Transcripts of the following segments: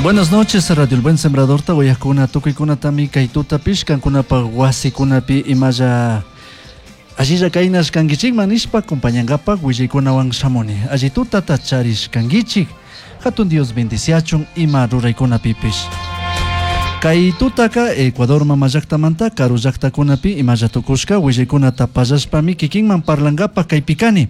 Buenas noches, Radio El Buen Sembrador, tawayakuna, tukuykunatami kay tutapish kankunapaj wasikunapi imalla allilla kaynash kankichikman nishpa acompañankapak willaykunawan shamuni. Alli tutata charish kankichik, hatun Dios bendiciachun ima ruraykunapipish. Kay tutaka Ecuador mama llaktamanta karu llaktakunapi imalla tukushka willaykunata pallashpami kikinman parlankapak kaypi kani.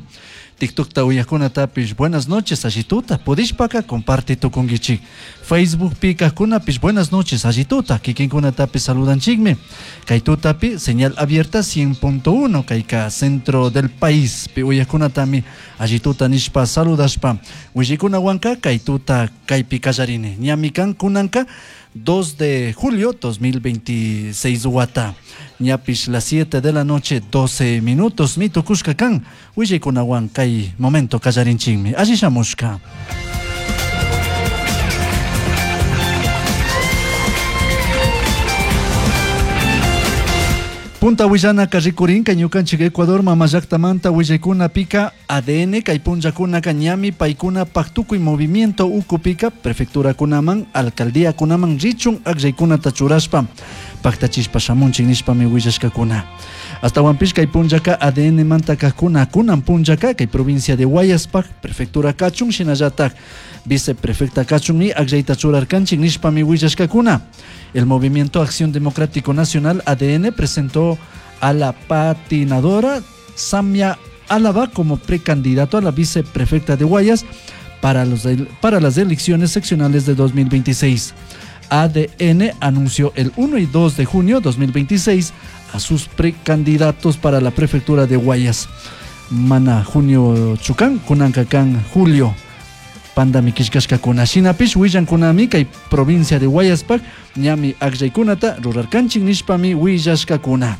TikTokta uyajkunatapish buenas noches alli tuta pudishpaka comparte tukunkichik. Facebookpi kajkunapish buenas noches alli tuta kikinkunatapish saludanchikmi. Kay tutapi señal abierta 100.1 kayka centro del país pi uyajkunatami alli tuta nishpa saludashpa willaykunawanka kay tuta kaypi kallarini. Ñami kan kunanka 2 de julio 2026 wata. Ñapish las 7 de la noche 12 minutos mi tukushka kan willaykunawan kay momento kallarinchikmi. Alli shamushka. Punta willanaka rikurinka ñukanchik Ecuador mama llaktamanta willaykunapika ADN kay punllakunaka ñami paykunapak tukuy movimiento ukupika prefecturakunaman alcaldíakunaman richun akllaykunata churashpa paktachishpa shamunchik nishpami willashkakuna. Astawanpish kay punllaka ADN manta kajkuna kunan punllaka kay provincia de Guayaspak prefectura kachun shinallatak viceprefecta kachunmi akllayta churarkanchik nishpami willashkakuna. El Movimiento Acción Democrático Nacional ADN presentó a la patinadora Samia Álava como precandidato a la viceprefecta de Guayas para las elecciones seccionales de 2026. ADN anunció el 1 y 2 de junio 2026 a sus precandidatos para la prefectura de Guayas. Mana junio chukan, kunankakan julio. Pandami killkashkakuna shinapish willankunami kay provincia de Guayaspak ñami akllaykunata rurarkanchik nishpami willashkakuna.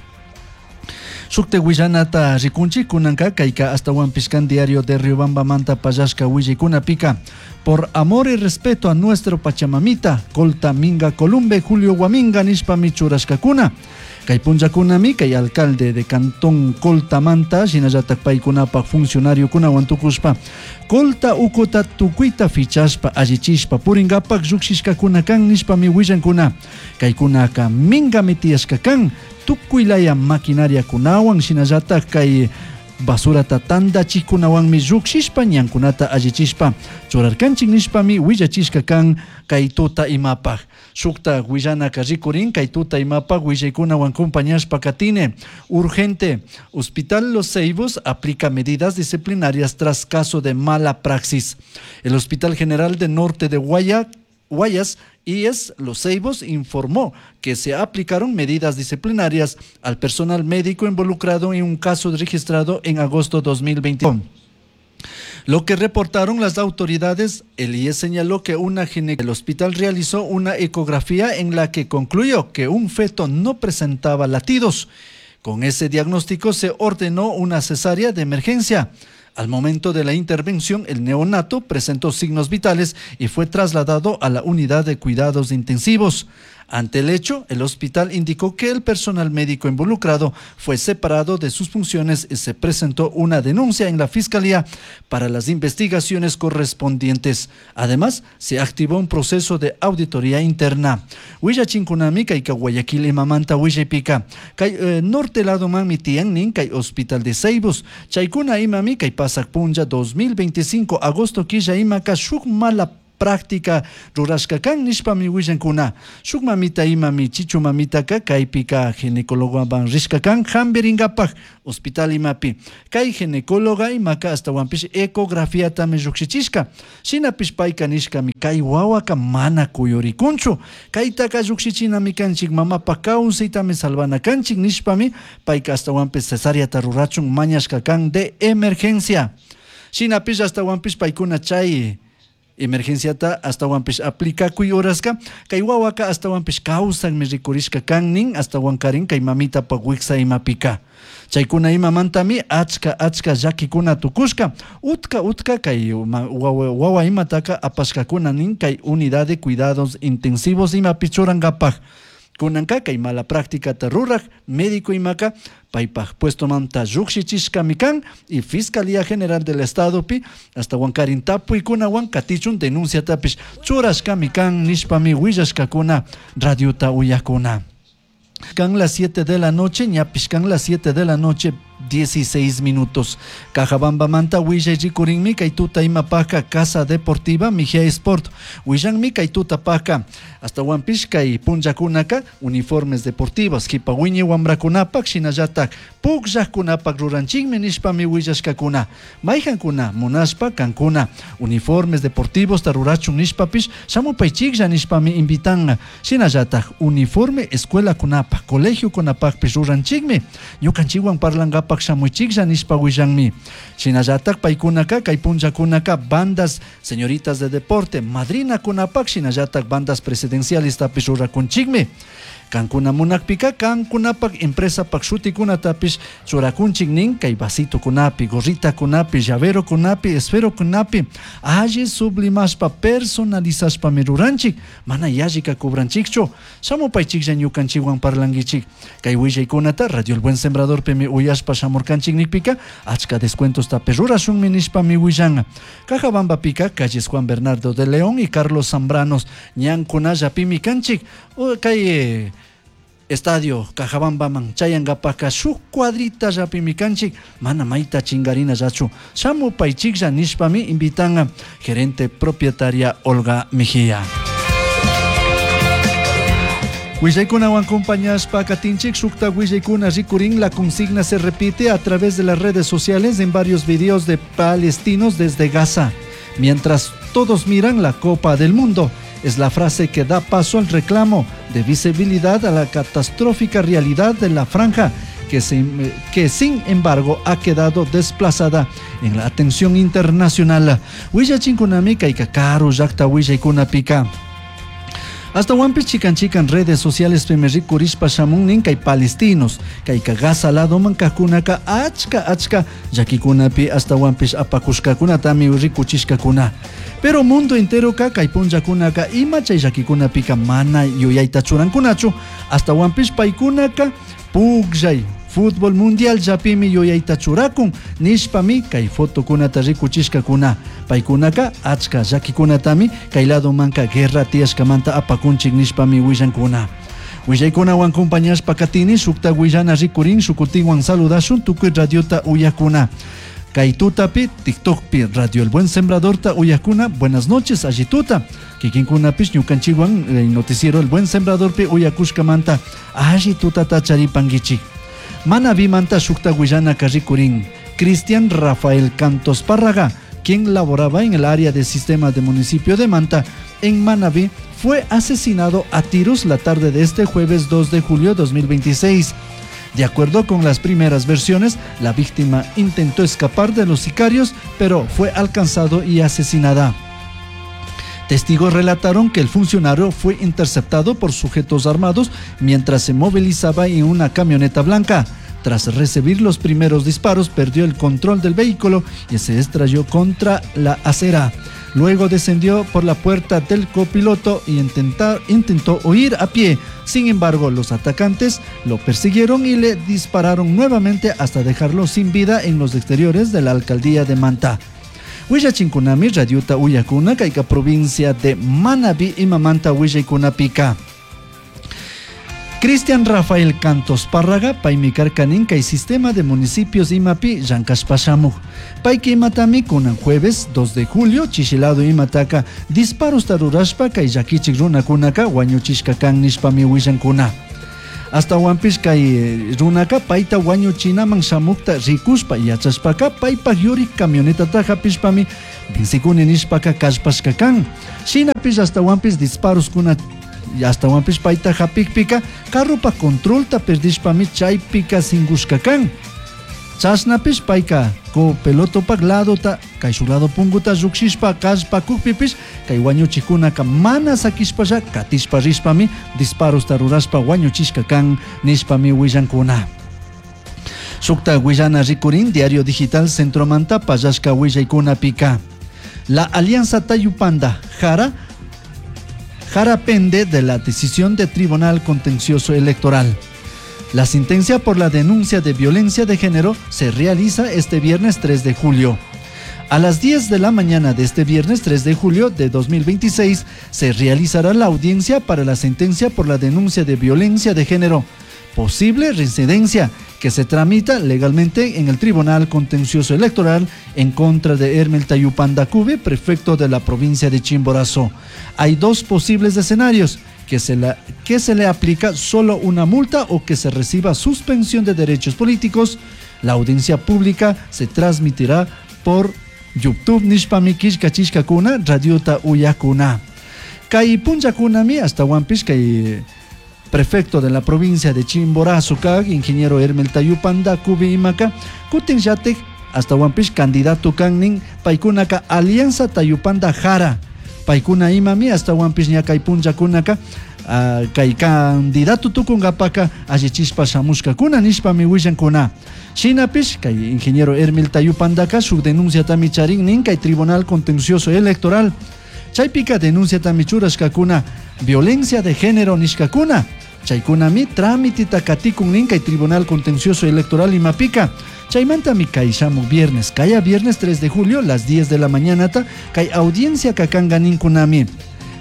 Shukta willanata rikunchik kunanka kayka astawanpish kan diario de Riobambamanta pallashka willaykunapika por amor y respeto a nuestro Pachamamita, Colta Minga Columbe, Julio Guaminga nishpami churashkakuna. Kay punllakunami kay alcalde de Cantón Coltamanta shinallatak paykunapak funcionariokunawan tukushpa Colta ukuta tukuyta fichashpa allichishpa purinkapak llukshishkakuna kan nishpami willankuna. Kaykunaka mingami tiyashka kan tukuylaya maquinariakunawan shinallatak kay basurata tandachikkunawanmi llukshishpa ñankunata allichishpa churarkanchik nishpami willachishka kan kay tuta imapaj. Shukta willanaka rikurin kay tuta imapaj willaykunawan acompañashpa katine. Urgente, Hospital Los Ceibos aplica medidas disciplinarias tras caso de mala praxis. El Hospital General de Norte de Guayas IES Los Ceibos informó que se aplicaron medidas disciplinarias al personal médico involucrado en un caso registrado en agosto 2021. Lo que reportaron las autoridades, el IES señaló que una ginecóloga del hospital realizó una ecografía en la que concluyó que un feto no presentaba latidos. Con ese diagnóstico se ordenó una cesárea de emergencia. Al momento de la intervención, el neonato presentó signos vitales y fue trasladado a la unidad de cuidados intensivos. Ante el hecho, el hospital indicó que el personal médico involucrado fue separado de sus funciones y se presentó una denuncia en la fiscalía para las investigaciones correspondientes. Además, se activó un proceso de auditoría interna. Willachinkunami kayka Guayaquil imamanta willaypika. Kay norte lado manmi tiyan nin kay Hospital de Ceibos. Chaykuna imami kay pasak punlla 2025 agosto killa imaka shuk mala práctica rurashka kan nishpami willankuna. Shuk mamita imami chichu mamitaka kaypika ginecólogowan rishka kan hampirinkapak hospital imapi. Kay ginecóloga imaka astawanpish ecografiatami llukshichishka. Shinapish payka nishkami kay wawaka mana kuyurikunchu. Kaytaka llukshinchinami kanchik mamapak kawsaytami salvana kanchik nishpami payka astawanpish cesáreata rurachun mañashka kan de emergencia. Shinapish astawanpish paykuna chay emergenciata astawanpish aplikakuy horaska kay wawaka astawanpish kawsanmi rikurishka kan nin astawankarin kay mamitapa wiksa imapika. Chaykuna imamantami achka achka llakikuna tukushka utka utka kay wawa imataka apashkakuna nin kay unidad de cuidados intensivos imapi churankapak. Kunanka kay mala prácticata ruraj médico imaka paypaj puestomanta llujshichishkami kan y Fiscalía General del Estadopi ashtawankarin tapuykunawan katichun denunciatapish churashkami kan nishpami willashkakuna radiota uyakuna. Kan las 7 de la noche, ñapish kan las 7 de la noche 16 minutos. Cajabambamanta willay rikurinmi kay tuta imapajka Casa Deportiva Mejía Sport. Willanmi kay tutapajka ashtawanpish kay punllakunaka uniformes deportivos kipa wiñay wamrakunapak shinallatak pukllajkunapak ruranchikmi nishpami willashkakuna. Mayjankuna munashpa kankuna uniformes deportivos rurachun nishpapish shamupaychiklla nishpami invitan. Shinallatak uniforme escuelakunapak colegiokunapakpish ruranchikmi. Ñukanchikwan parlankapak shamuychiklla nishpa willanmi. Shinallatak paykunaka kay punllakunaka bandas señoritas de deporte madrinakunapak shinallatak bandas presidenciales tapish rurakunchikmi. Kankuna munakpika kankunapak empresapak shutikunatapish churakunchik nin kay vasitokunapi, gorritakunapi, llaverokunapi, esferokunapi alli sublimashpa personalizashpami ruranchik, mana yallika cobranchikchu. Shamupaychiklla ñukanchikwan parlankichik. Kay willaykunata Radio El Buen Sembradorpimi uyashpa shamurkanchik nikpika achka descuentostapish rurashunmi nishpami willan. Cajabambapika calles Juan Bernardo de León y Carlos Zambranos ñankunallapimi kanchik. Kay estadio Cajabambaman chayankapaka shuk cuadrita llapimi kanchik, mana mayta chingarinallachu. Shamupaychiklla nishpami invitan gerente propietaria Olga Mejía. Willaykunawan acompañashpa katinchik shukta willaykuna rikurin. La consigna se repite a través de las redes sociales en varios videos de palestinos desde Gaza. Mientras todos miran la Copa del Mundo, es la frase que da paso al reclamo de visibilidad a la catastrófica realidad de la franja, que sin embargo ha quedado desplazada en la atención internacional. Willachinkunami kayka karu llakta willaykunapika. Ashtawanpish chikan chikan redes sociales pimi rikurishpa shamun nin kay palestinos, kayka Gaza ladoman kajkunaka achka achka llakikunapi ashtawanpish apakushkakunatami rikuchishkakuna. Pero mundo enteroka kay punllakunaka ima chay llakikunapika mana yuyayta churankunachu, ashtawanpish paykunaka pukllay fútbol mundial llapimi yuyayta churakun nishpami kay fotokunata rikuchishkakuna. Paykunaka achka llakikunatami kay ladomanka guerra tiyashkamanta apakunchik nishpami willankuna. Willaykunawan compañashpa katini shukta willana rikurin shukutinwan saludashun tukuy radiota uyakuna. Kay tutapi TikTokpi Radio El Buen Sembradorta uyakuna. Buenas noches allituta. Kikinkunapish ñukanchikwan el noticiero El Buen Sembradorpi uyakushkamanta allitutata charipankichik. Manabimanta shukta willana rikurin. Cristian Rafael Cantos Párraga, quien laboraba en el área de sistema de municipio de Manta, en Manabí, fue asesinado a tiros la tarde de este jueves 2 de julio de 2026. De acuerdo con las primeras versiones, la víctima intentó escapar de los sicarios, pero fue alcanzado y asesinada. Testigos relataron que el funcionario fue interceptado por sujetos armados mientras se movilizaba en una camioneta blanca. Tras recibir los primeros disparos, perdió el control del vehículo y se estrelló contra la acera. Luego descendió por la puerta del copiloto y intentó huir a pie. Sin embargo, los atacantes lo persiguieron y le dispararon nuevamente hasta dejarlo sin vida en los exteriores de la alcaldía de Manta. Willachinkunami radiota uyakuna kayka provincia de Manabí imamanta willaykunapika. Cristian Rafael Cantos Párraga, paymi karkanin kay sistema de municipios imapi llankashpa shamuk. Payka imatami kunan jueves 2 de julio chishilado imataka disparos rurashpa kay llakichik runakunaka wañuchishka kan nishpami willankuna. Ashtawanpish kay runaka payta wañuchinaman shamukta rikushpa yachashpaka paypak yurik camionetata hapishpami vencikuni nishpaka kallpashka kan. Shinapish ashtawanpish disparoskuna ashtawanpish payta hapikpika carropa controlta perdishpami chaypika singushka kan. Chashnapish payka copilotopak ladota kayshuk lado punguta llukshishpa kallpakukpipish kay wañuchikunaka mana sakishpalla katishpa rishpami disparosta rurashpa wañuchishka kan nishpami willankuna. Shukta willana rikurin Diario Digital Centromanta pallashka willaykunapika. La Alianza Tayupanda Jara Jara pende de la decisión de Tribunal Contencioso Electoral. La sentencia por la denuncia de violencia de género se realiza este viernes 3 de julio. A las 10 de la mañana de este viernes 3 de julio de 2026 se realizará la audiencia para la sentencia por la denuncia de violencia de género, posible reincidencia que se tramita legalmente en el Tribunal Contencioso Electoral en contra de Hermel Tayupanda Cube, prefecto de la provincia de Chimborazo. Hay dos posibles escenarios: que se le aplica solo una multa o que se reciba suspensión de derechos políticos. La audiencia pública se transmitirá por YouTube nishpami killkachishkakuna radiota uyakuna. Kay punllakunami ashtahuanpish kay prefecto de la provincia de Chimborazo kag ingeniero Hermel Tayupanda Cubi imaka kutin llatik ashtahuanpish candidato kannin paykunaka Alianza Tayupanda Jara paykuna imami ashtahuanpish ña kay punllakunaka kay candidato tukunkapaka allichishpa shamushkakuna nishpami willankuna. Shinapish kay ingeniero Hermel Tayupandaka shuk denunciatami charin nin kay Tribunal Contencioso Electoral. Chaypika denunciatami churashkakuna violencia de género nishkakuna. Chaykunami trámitita katikun nin kay Tribunal Contencioso Electoral imapika. Chaymantami kay shamuk viernes, kaya viernes 3 de julio, las 10 de la mañana ta, kay audiencia kakanga ninkunami.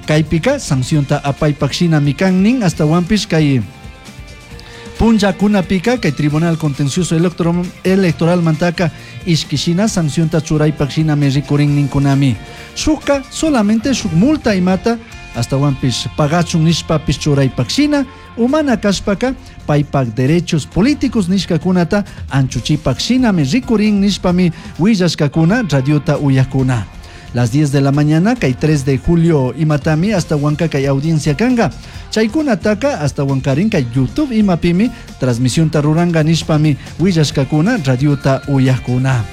Kaypika sancionta apaypak shinami kan nin ashtahuanpish kay punllakunapika kay Tribunal Contencioso Electoral mantaka ishkishina sancionta churaypak shinami rikurin ninkunami. Shukka solamente shuk multa imata ashtahuanpish pagachun nishpapish churaypak shina umana kashpaka paypak derechos políticos nishkakunata anchuchipak shinami rikurin nishpami willashkakuna radiota uyakuna. Las 10 de la mañana, kay 3 de julio imatami hasta Huanca kay audiencia kanga. Chaykunataka hasta Huancarin kay YouTube imapimi transmisión taruranga nishpami willashkakuna radiota uyakuna.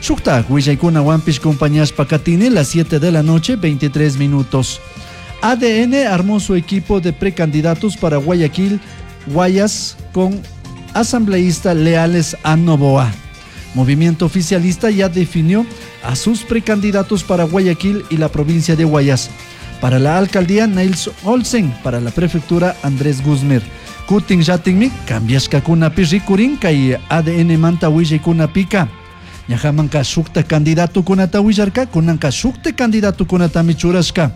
Shuktak willaykuna wampish compañías pakatini las 7 de la noche 23 minutos. ADN armó su equipo de precandidatos para Guayaquil, Guayas con asambleístas leales a Noboa. Movimiento oficialista ya definió a sus precandidatos para Guayaquil y la provincia de Guayas. Para la alcaldía, Niels Olsen. Para la prefectura, Andrés Guzmán. Kutin yatinmi, cambiashkakunapi rikurin kay ADN manta willaykunapika. Ñajamanka shukta candidatokunata willarka, kunanka shukta candidatokunatami churashka.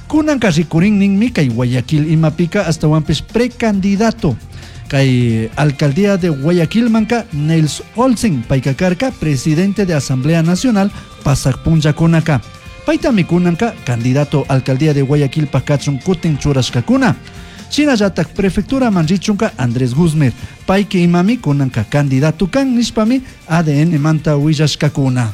Kunanka rikurin ninmi kay Guayaquil imapika ashtahuanpish precandidato. Kay alcaldía de Guayaquil manka Niels Olsen payka karka presidente de Asamblea Nacional pasak punllakunaka. Paytami kunanka candidato alcaldía de Guayaquil pakachun kutin churashkakuna. Shinallatak prefectura manrichunka Andrés Guzmán payki imami kunanka candidato kan nishpami ADN manta willashkakuna.